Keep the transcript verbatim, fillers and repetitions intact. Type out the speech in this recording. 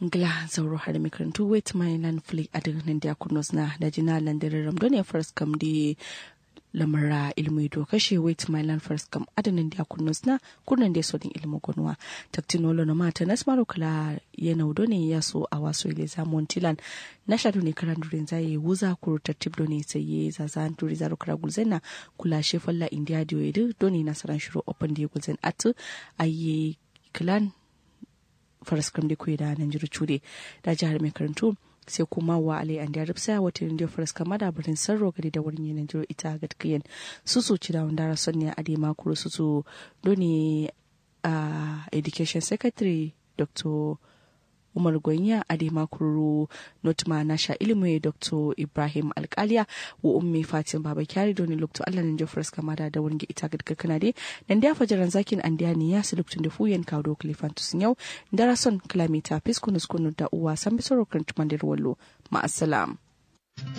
Ngla zauro harami karantu wait my land flick adin nan dia kurnosna da jina lan da raram done first kam di lamara ilmu do kashe wait my land first kam adin nan dia kurnosna kurnan da sodin ilmu gonwa. Taktin wolo na mata nas maro kala yana done ya so a waso ile zamon tilan na sha done karan durin zaye wuza kuru tartib done sai ye zaza duri zaro kara gulzaina kula she falla india diyo idu done nasaran shiro open da gulzain atu aye clan. Faraskam de kueda nanjiro cude da jihar mai karantu sai kuma wa alai andiya ripsaya wata nanjiro faraskam ada birnin sarro gari da wurin yi nanjiro ita gatkiyen susu cida wanda rason ne ade makuru susu doni a education secretary dr umar gonya ade makuru notma nasha ilimi dr ibrahim alkaliya wa ummi fatin baba kyari doni lokto allah nanjiro faraskam ada da wurin ita gatkakana de nan da ya fajaran zakin andiya ne ya sai lokacin da fuyen kawo dokali fantus yau da rason kilomita fiskunus kunu da uwa san bisoro kan tumandir wallo. Ma'assalam.